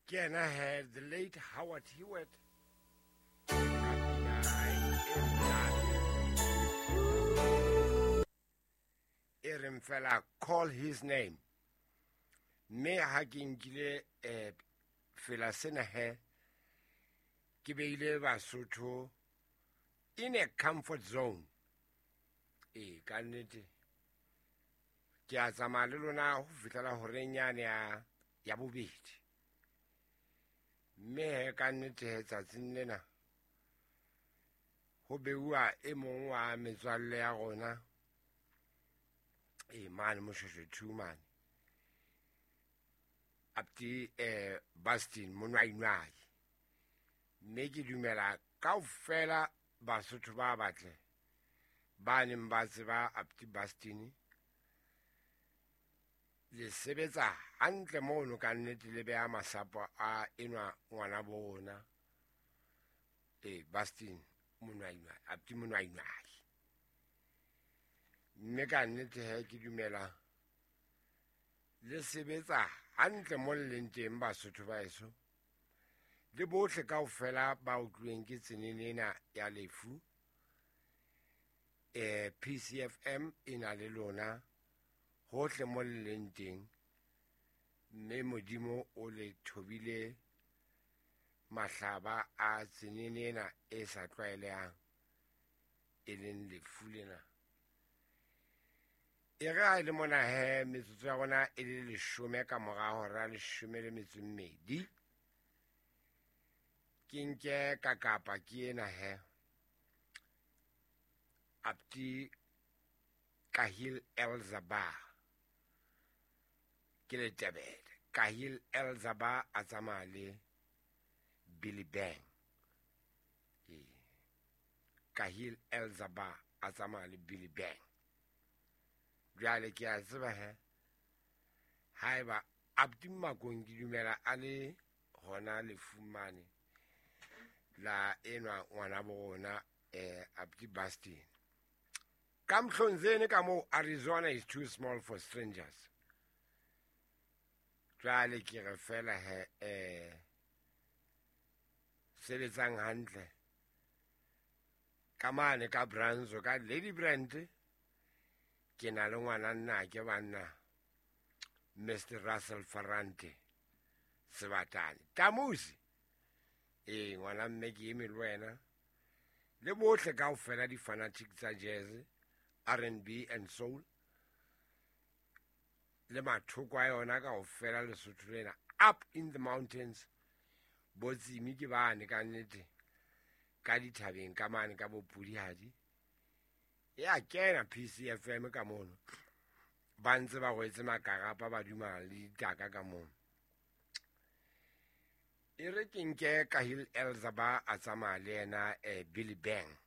Ke yena he, the late Howard Hewitt ka pina ya hae e monate e reng fela Call His Name. Mme ha ke nkile um fela sena he, ke beile Basotho in a comfort zone. Ee, ka nnete ke a tsamaya le lona ho fihlela horeng yane ya ya bobedi. Mme he ka nnete he tsatsing lena ho beuwa e mong wa metswalle ya rona e mane Moshweshwe 2 mane, Apti Bastin Monwainwai. Mme ke dumela kaofela Basotho ba batle ba neng ba tseba Apti Bastin le sebetsa hantle mono ka nnete, le beha masapo a enwa ngwana bona e Bastin Monwainwai, Apti Monwainwai. Mme ka nnete he ke dumela le sebetsa hantle mo le leng teng Basotho ba eso, le bohle kaofela ba utlwileng ke tsenene ena ya lefu. PCFM e na le lona hohle mo le leng teng, mme Modimo o le thobile mahlaba a tsenene ena e sa tlwaelehang e leng lefu lena. E re ha e le mona he metsotso ya rona e le 10 ka mora hora 12, ke nke ka kapa ke ena he Apti Kahil Elzaba, ke Letebele. Kahil Elzaba a tsamaya le Billy Bang. Ee, Kahil Elzaba a tsamaya le Billy Bang. Jwale ke a tseba he haeba Apti Makong ke dumela a le hona lefumane la enwa ngwana bo rona Apti Bastin. Ka Mhlonzeni ka moo, Arizona is too small for strangers. Jwale ke re fela he sebetsang hantle ka mane ka Branzo ka Lady Brand, ke na le ngwana nna ke banna Mr Russell Ferrante Sebatane Tamusi. Ee, ngwana mme ke eme le wena le bohle kaofela di-fanatic tsa jazz, R&B and soul le mathoko a yona kaofela Lesotho lena, up in the mountains, botsimi ke bane ka nnete ka dithabeng ka mane ka bopudihadi. Ya kena PCFM ka mono, ba ntse ba rwetse makarapa ba duma le ditaka ka mono. E re ke nke Kahil Elzaba a tsamaya le yena Billy Bang,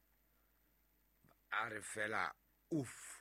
a re fela uff.